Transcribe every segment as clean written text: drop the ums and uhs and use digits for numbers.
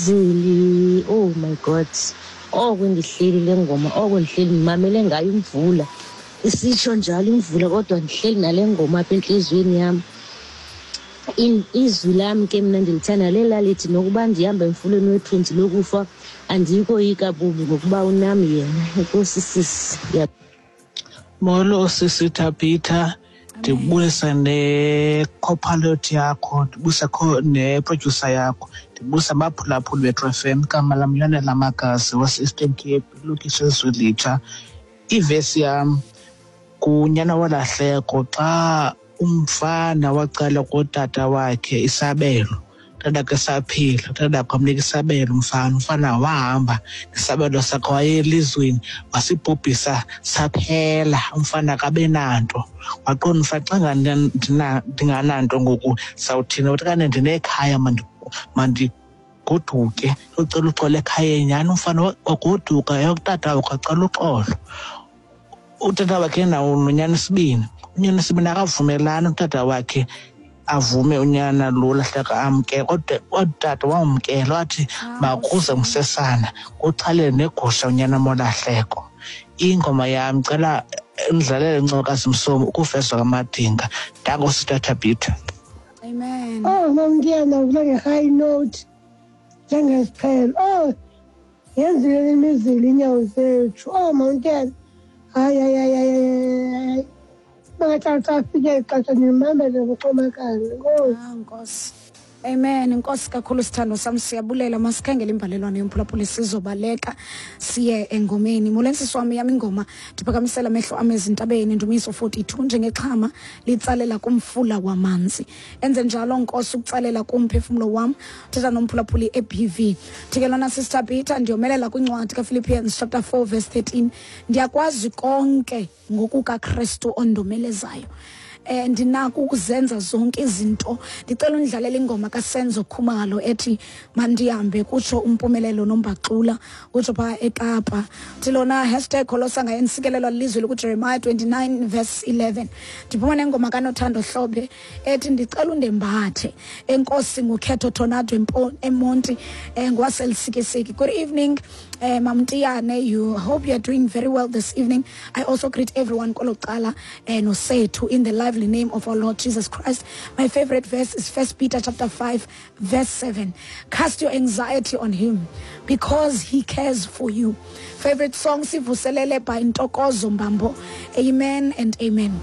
Zili, oh my God. Oko ndihleli le ngoma, oko ndihleli ndimamele ngayo imvula. Isitsho njalo imvula kodwa ndihleli nale ngoma apha entliziyweni yam. Izwi lam ke mna ndilithanda lela lithi nokuba ndihamba emfuleni wethunzi lokufa andiyikoyika bubi ngokuba unam yena. Enkosi sisi. Molo sisi Thabitha, ndibulisa ne-copilot yakho, ndibulisa ne-producer yakho, ndibulisa abaphulaphuli beTru FM. Igama lam Yonela Magazi wase-Eastern Cape, ilokishi eZwelitsha. Ivesi yam ngunyana wolahleko xa umfana wacela kutata wakhe isabelo, utata esaphila, utata wakhe wamnika isabelo umfana, umfana wahamba nesabelo sakhe waye elizweni wasibhubhisa saphela, umfana akabe nanto. Waqonda umfana xa ndingananto ngoku sawuthini, wathi kane ndinekhaya mandigoduke ndiyocela uxolo ekhayeni. Nyhani umfana wagoduka eyokutata wakhe wacela uxolo. Utata wakhe nawo nonyana isibini, unyana isibini akavumelani utata wakhe avume unyana lo lahleka amkele, kodwa utata wamkela wathi makuze msesana kuxhalele negusha unyana molahleko. Ingoma yam cela ndidlalele Ncokazi Msomi ukufezwa kwamadinga. Danko Sister Thabitha. Amen. Oh, Mamntiyana, uvula nge-high note njengesiqhelo. Oh, yenzile imizila inyawo zethu. Oh, Mamntiyana, hayi, hayi, hayi, hayi, hayi. Bangathi xa fike ixesha ndimamele ngoxomakala. Enkosi. Ah, Nkosi. Amen. Nkosi kakhulu sithando sam, siyabulela. Masikhangele imbalelwano yomphulaphuli, sizobaleka siye engomeni. Molweni sisi wam, yam ingoma ndiphakamisela amehlo am ezintabeni, Ndumiso 42, njengexhama litsalela kumfula wamanzi. Enze njalo Nkosi ukutsalela kumphefumlo wam. Thetha nomphulaphuli e-BV. Thikelwana Sister Peter, ndiyomelela kwincwadi kaPhilippians chapter 4 verse 13. Ndiyakwazi konke ngokukaKristu ondomelezayo. Ndinako ukuzenza zonke izinto. Ndicela undlalele ingoma kaSenzo Khumalo ethi mandihambe, kutsho uMpumelelo Nombaxula, utsho phaa eKapa. Uthi lona hashtag Kholosa ngaye nsikelelwa lilizwi likuJeremiah 29 verse 11. Ndiphuma nengoma kaNothando Hlobe ethi ndicela undembathe. Enkosi nguKhetho Tornado eMonti, ngwaseLusikisiki. Good evening, Mamntiyane. You hope you are doing very well this evening. I also greet everyone kwelo cala, nosethu in the lively name of our Lord Jesus Christ. My favorite verse is 1 Peter chapter 5 verse 7. Cast your anxiety on him because he cares for you. Favorite song Sivuselele by Ntokozo Mbambo. Amen and amen.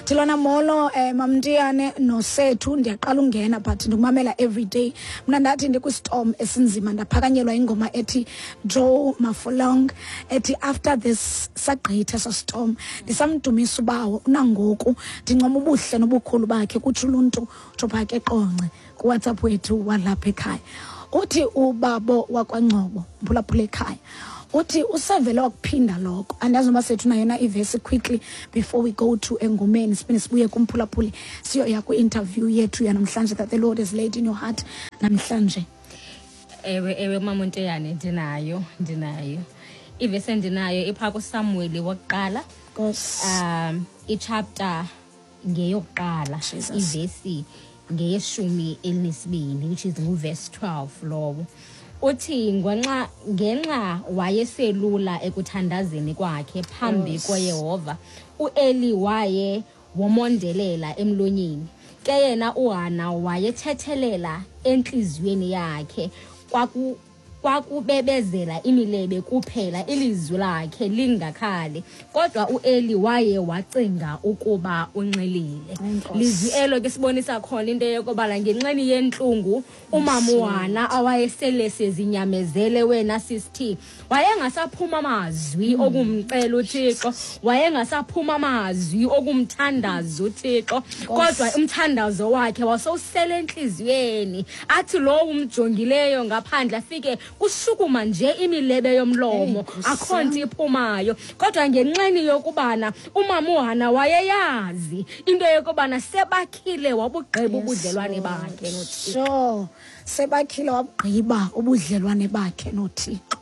Thilona molo, Mamntiyane nosethu, ndiyaqala ungena but ndikumamela every day. Mna ndathi ndikwistorm esinzima ndaphakanyelwa ingoma ethi Joe Mafolong ethi after this sagqitha sa storm. Ndisamdumisa ubawo unangoku ndincoma ubuhle nobukhulu bakhe, kutsho uluntu utsho phaa ke Qonce kuWhatsApp wethu walapha ekhaya. Uthi ubabo wakwaNgcobo mphulaphula ekhaya, uthi usevele wakuphinda lokho. Andazi noba sethu nayo na ivesi quickly before we go to engomeni, siphinde sibuye kumphulaphuli siyoya kwi-interview yethu yanamhlanje that the Lord has laid in your heart namhlanje. Ewe, ewe, Mama Nteyane, ndinayo. Ivesi endinayo iphaa kuSamueli wokuqala. Nkosi. Ichapter ngeyokuqala, Jesus. Ivesi ngeyeshumi elinesibini, which is nguverse 12 lowo. Uthi ngenxa wayeselula ekuthandazeni kwakhe phambi koYehova, uEli waye womondelela emlonyeni. Ke yena uHana wayethethelela entliziyweni yakhe, kwakubebezela imilebe kuphela, ilizwi lakhe lingakhali. Kodwa uEli waye wacinga ukuba unxilile. Enkosi. Lizwi elo ke sibonisa khona into yokobana ngenxeni yentlungu umama uHana awayesele sezinyamezele wena sisithi, wayengasaphuma amazwi okumcela uThixo, wayengasaphuma amazwi okumthandaza uThixo, kodwa umthandazo wakhe wasowusele entliziyweni. Athi lowo umjongileyo ngaphandle afike kushukuma nje imilebe yomlomo, Nkosi akho nto iphumayo. Kodwa ngenxeni yokubana umama uHana wayeyazi into yokubana sebakhile wabugqiba Yes, ubudlelwane Lord. bakhe noThixo. Sure, sebakhile wabugqiba ubudlelwane bakhe noThixo.